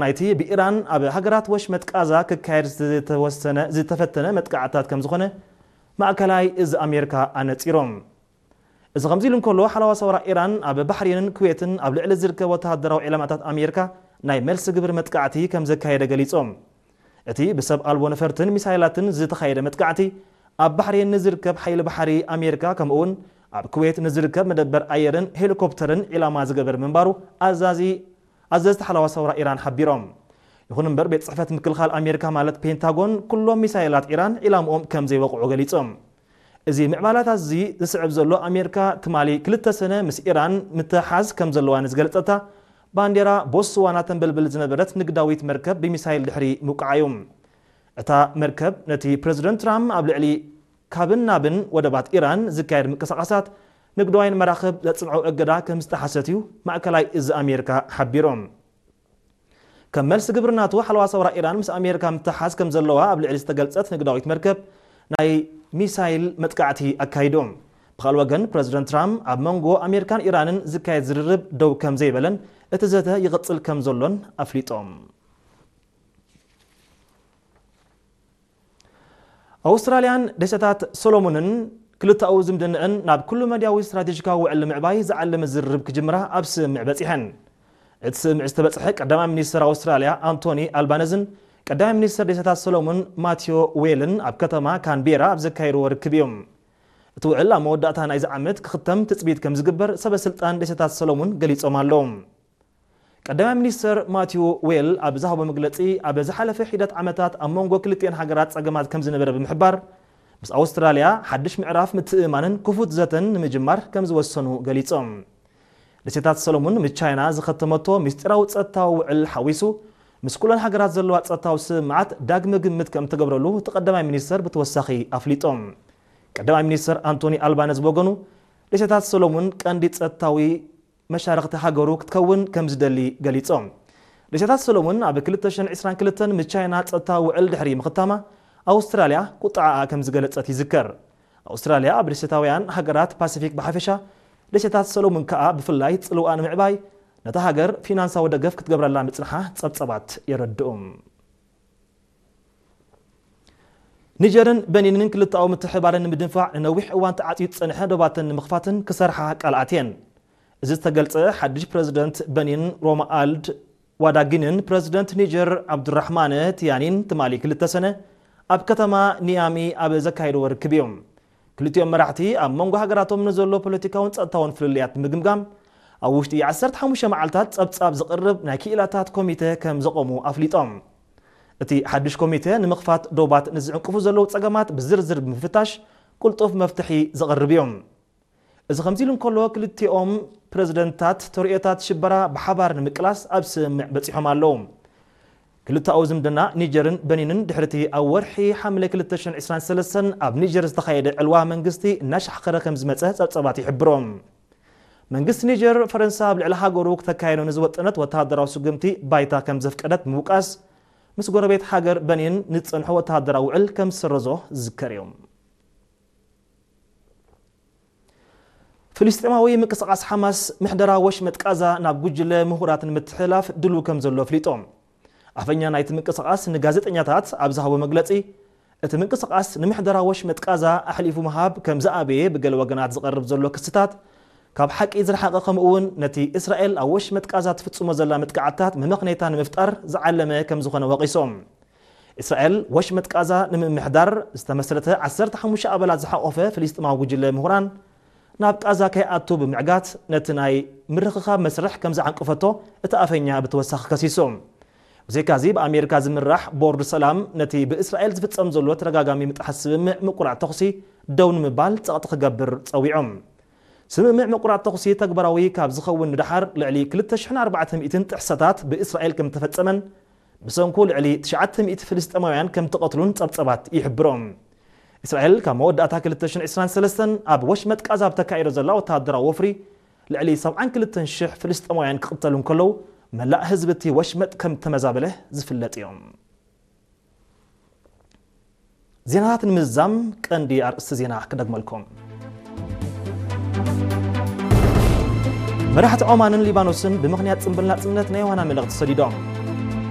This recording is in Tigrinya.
ናይቲ ብኢራን ኣብ ሃገራት ወሽመጥ ቃዛ ክካየድ ዝተወሰነ ዝተፈተነ መጥቃዕታት ከም ዝኾነ ማእከላይ እዚ ኣሜሪካ ኣነጺሮም። እዚ ከምዚ ኢሉ እንከሎ፣ ሓለዋ ሰውራ ኢራን ኣብ ባሕሬንን ኩዌትን ኣብ ልዕሊ ዝርከብ ወተሃደራዊ ዒላማታት ኣሜሪካ ናይ መልሲ ግብር መጥቃዕቲ ከም ዘካየደ ገሊጾም። እቲ ብሰብ ኣልቦ ነፈርትን ሚሳይላትን ዝተኻየደ መጥቃዕቲ ኣብ ባሕሬን ንዝርከብ ሓይሊ ባሕሪ ኣሜሪካ ከምኡውን ኣብ ኩዌት ንዝርከብ መደበር ኣየርን ሄሊኮፕተርን ዒላማ ዝገበር ምንባሩ ኣዛዚ ኣዘዝቲ ሓለዋ ሰውራ ኢራን ሓቢሮም። ይኹን እምበር፣ ቤት ጽሕፈት ምክልኻል ኣሜሪካ ማለት ፔንታጎን ኩሎም ሚሳይላት ኢራን ዒላምኦም ከም ዘይወቕዑ ገሊጾም። እዚ ምዕባላት እዚ ዝስዕብ ዘሎ ኣሜሪካ ትማሊ ክልተ ሰነ ምስ ኢራን ምትሓዝ ከም ዘለዋ ንዝገለጸታ ባንዴራ ቦትስዋና ተንበልብል ዝነበረት ንግዳዊት መርከብ ብሚሳይል ድሕሪ ምውቃዓ እዩ። እታ መርከብ ነቲ ፕረዚደንት ትራምፕ ኣብ ልዕሊ ካብን ናብን ወደባት ኢራን ዝካየድ ምንቅስቓሳት ንግዳውያን መራኽብ ዘጽንዖ እገዳ ከም ዝጠሓሰት እዩ ማእከላይ እዚ ኣሜሪካ ሓቢሮም። ከም መልሲ ግብሪ ናቱ ሓለዋ ሰውራ ኢራን ምስ ኣሜሪካ ምትሓዝ ከም ዘለዋ ኣብ ልዕሊ ዝተገልጸት ንግዳዊት መርከብ ናይ ሚሳይል መጥቃዕቲ ኣካይዶም። ብኻልእ ወገን ፕረዚደንት ትራምፕ ኣብ መንጎ ኣሜሪካን ኢራንን ዝካየድ ዝርርብ ደው ከም ዘይበለን እቲ ዘተ ይቕጽል ከም ዘሎን ኣፍሊጦም። ኣውስትራልያን ደሴታት ሶሎሞንን ክልተኣዊ ዝምድንዐን ናብ ኩሉ መድያዊ ስትራቴጂካዊ ውዕል ንምዕባይ ዝዓለመ ዝርርብ ክጅምራ ኣብ ስምምዕ በጺሐን። እቲ ስምምዕ ዝተበጽሐ ቀዳማይ ሚኒስትር ኣውስትራልያ ኣንቶኒ ኣልባነዝን ቀዳማይ ሚኒስትር ደሴታት ሶሎሞን ማቲዮ ዌልን ኣብ ከተማ ካንቤራ ኣብ ዘካየድዎ ርክብ እዮም። እቲ ውዕል ኣብ መወዳእታ ናይዚ ዓመት ክኽተም ትጽቢት ከም ዝግበር ሰበ ስልጣን ደሴታት ሰሎሙን ገሊጾም ኣለዉ። ቀዳማይ ሚኒስትር ማቲው ዌል ኣብ ዝሃቦ መግለጺ፣ ኣብ ዝሓለፈ ሒደት ዓመታት ኣብ መንጎ ክልቲኤን ሃገራት ጸገማት ከም ዝነበረ ብምሕባር፣ ምስ ኣውስትራልያ ሓድሽ ምዕራፍ ምትእምማንን ክፉት ዘተን ንምጅማር ከም ዝወሰኑ ገሊጾም። ደሴታት ሰሎሙን ምስ ቻይና ዝኸተመቶ ምስጢራዊ ጸጥታዊ ውዕል ሓዊሱ፣ ምስ ኩለን ሃገራት ዘለዋ ጸጥታዊ ስምምዓት ዳግመ ግምት ከም እተገብረሉ እቲ ቀዳማይ ሚኒስተር ብተወሳኺ ኣፍሊጦም። ቀዳማይ ሚኒስተር ኣንቶኒ ኣልባነዝ ብወገኑ፣ ደሴታት ሰሎሙን ቀንዲ ጸጥታዊ መሻርኽቲ ሃገሩ ክትከውን ከም ዝደሊ ገሊጾም። ደሴታት ሰሎሙን ኣብ ክልተ ሽሕን ዕስራን ክልተን ምስ ቻይና ጸጥታዊ ውዕል ድሕሪ ምኽታማ፣ ኣውስትራልያ ቁጥዓኣ ከም ዝገለጸት ይዝከር። ኣውስትራልያ ኣብ ደሴታውያን ሃገራት ፓሲፊክ ብሓፈሻ፣ ደሴታት ሰሎሙን ከኣ ብፍላይ ጽልዋኣ ንምዕባይ ነታ ሃገር ፊናንሳዊ ደገፍ ክትገብረላ ምጽንሓ ጸብጸባት የረድኡ። ኒጀርን በኒንን ክልተኣዊ ምትሕብባረን ንምድንፋዕ ንነዊሕ እዋን ተዓጽዩ ዝጸንሐ ዶባተን ንምኽፋትን ክሰርሓ ቃል ኣትየን። እዚ ዝተገልጸ ሓድሽ ፕረዚደንት በኒን ሮማኣልድ ዋዳጊንን ፕረዚደንት ኒጀር ኣብዱራሕማነ ቲያኒን ትማሊ ክልተ ሰነ ኣብ ከተማ ኒያሚ ኣብ ዘካየድዎ ርክብ እዮም። ክልቲኦም መራሕቲ ኣብ መንጎ ሃገራቶም ንዘሎ ፖለቲካውን ጸጥታውን ፍልልያት ብምግምጋም፣ ኣብ ውሽጢ ዓሰርተ ሓሙሽተ መዓልታት ጸብጻብ ዝቕርብ ናይ ክኢላታት ኮሚተ ከም ዘቖሙ ኣፍሊጦም። እቲ ሓድሽ ኮሚተ ንምኽፋት ዶባት ንዝዕንቅፉ ዘለዉ ጸገማት ብዝርዝር ብምፍታሽ ቅልጡፍ መፍትሒ ዘቕርብ እዮም። እዚ ከምዚ ኢሉ እንከሎ፣ ክልቲኦም ፕረዚደንታት ተርእዮታት ሽበራ ብሓባር ንምቅላስ ኣብ ስምምዕ በጺሖም ኣለዉ። ክልተኣዊ ዝምድና ኒጀርን በኒንን ድሕሪቲ ኣብ ወርሒ ሓምለ ክልተ ሽሕን ዕስራን ሰለስተን ኣብ ኒጀር ዝተኻየደ ዕልዋ መንግስቲ እናሻሕኸረ ከም ዝመጸ ጸብጸባት ይሕብሮ። መንግስቲ ኒጀር፣ ፈረንሳ ኣብ ልዕሊ ሃገሩ ክተካየዶ ንዝወጠነት ወተሃደራዊ ስጉምቲ ባይታ ከም ዘፍቀደት ምውቃስ፣ ምስ ጎረቤት ሃገር በኒን ንዝጸንሖ ወተሃደራዊ ውዕል ከም ዝሰረዞ ዝዝከር እዩ። ፍልስጤማዊ ምንቅስቓስ ሓማስ ምሕደራ ወሽመጥ ቃዛ ናብ ጉጅለ ምሁራት ንምትሕልላፍ ድሉው ከም ዘሎ ኣፍሊጦም። ኣፈኛ ናይቲ ምንቅስቓስ ንጋዜጠኛታት ኣብ ዝሃቦ መግለጺ፣ እቲ ምንቅስቓስ ንምሕደራ ወሽመጥ ቃዛ ኣሕሊፉ ምሃብ ከም ዝኣበየ ብገለ ወገናት ዝቐርብ ዘሎ ክስታት ካብ ሓቂ ዝረሓቐ፣ ከምኡ እውን ነቲ እስራኤል ኣብ ወሽመጥ ቃዛ ትፍጽሞ ዘላ መጥቃዕትታት መመኽነይታ ንምፍጣር ዝዓለመ ከም ዝኾነ ወቒሶም። እስራኤል ወሽመጥ ቃዛ ንምምሕዳር ዝተመስረተ ዓሰርተ ሓሙሽተ ኣባላት ዝሓቖፈ ፍልስጤማዊ ጉጅለ ምሁራን ናብ ቃዛ ከይኣቱ ብምዕጋት ነቲ ናይ ምርኽኻብ መስርሕ ከም ዝዓንቀፈቶ እቲ ኣፈኛ ብተወሳኺ ከሲሱ። ብዘይካዚ ብኣሜሪካ ዝምራሕ ቦርድ ሰላም ነቲ ብእስራኤል ዝፍጸም ዘሎ ተደጋጋሚ ምጥሓስ ስምምዕ ምቁራዕ ተኹሲ ደው ንምባል ጸቕጢ ክገብር ጸዊዖም። ስምምዕ ምቁራዕ ተኹሲ ተግባራዊ ካብ ዝኸውን ንደሓር ልዕሊ ክልተ ሽሕን ኣርባዕተ ሚእትን ጥሕሰታት ብእስራኤል ከም እተፈጸመን ብሰንኩ ልዕሊ ትሽዓተ ሚእቲ ፍልስጤማውያን ከም እተቐትሉን ጸብጸባት ይሕብሮም። እስራኤል ካብ መወዳእታ ክልተ ሽሕን ዕስራን ሰለስተን ኣብ ወሽመጥ ቃዛ ኣብ ተካይዶ ዘላ ወተሃደራዊ ወፍሪ ልዕሊ ሰብዓን ክልተን ሽሕ ፍልስጤማውያን ክቕተሉ እንከለዉ፣ መላእ ህዝቢ እቲ ወሽመጥ ከም እተመዛበለ ዝፍለጥ እዮም። ዜናታት ንምዝዛም ቀንዲ ኣርእስቲ ዜና ክደግመልኩም። መራሕቲ ዖማንን ሊባኖስን ብምኽንያት ጽምብል ናጽነት ናይ ዮሃና መልእኽቲ ሰዲዶም።